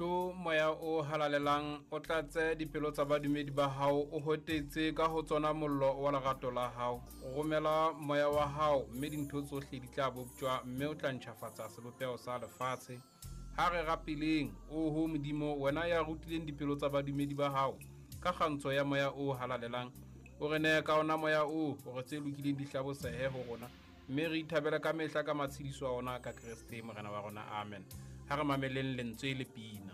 Tlo moya o halalelang o tlatse dipelo tsa badumedi ba hao o hotetse ka ho tsona mollo wa lerato la hao. Romela moya wa hao mme dintho tsohle di tla boptjwa mme o tla ntjhafatsa sebopeho sa lefatshe. Ha re rapeleng, oho Modimo, wena ya rutileng dipelo tsa badumedi ba hao ka kgantsho ya moya o halalelang, o re neye ka ona moya oo hore tse lokileng di hlabosehe ho rona, mme re ithabele ka mehla ka matshediso a ona ka Kreste Morena wa rona. Amen. Ha re mameleng lentswe le pina.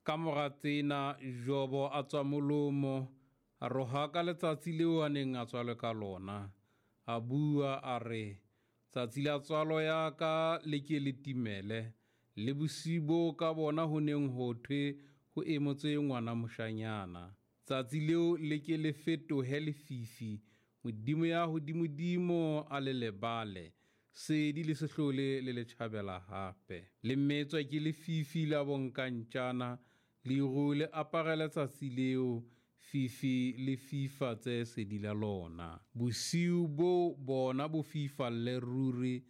Ka mora tsena Jobo a tswa molomo, a rohaka letsatsi leo a neng a tswalwe ka lona. A bua a re, tsatsi la tswalo ya ka le ke le timele, le bosiu bo ka bona ho neng ho thwe ho emotswe ngwana moshanyana. Tsatsi leo le ke le fetohe lefifi, Modimo ya hodimodimo a le lebale, sedi le se hlole le le tjhabela hape. Le metswa ke lefifi la bonkantjana, leru le aparele tsatsi leo, fifi le fifatse sedi la lona. Bosiu bo bona bo fifalle ruri,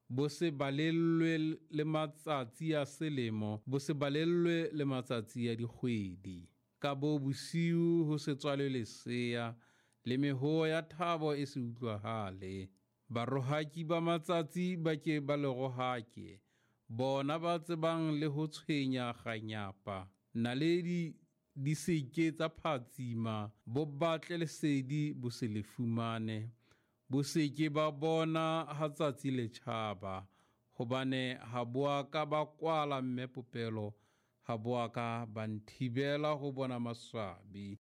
bo se balellwe le matsatsi a selemo, bo se balellwe le matsatsi a dikgwedi. Ka bo bosiu ho se tswalwe lesea, le mehoo ya thabo e se utlwahale. Barohaki ba matsatsi ba ke ba le rohake, bona ba tsebang le ho tshwenya kganyapa. Naledi di se ke tsa phatsima, bo batle lesedi bo se le fumane. Bo se ke ba bona ha tsatsi le tjhaba, hobane ha bo a ka ba kwala mme popelo, ha bo a ka ba nthibela ho bona maswabi.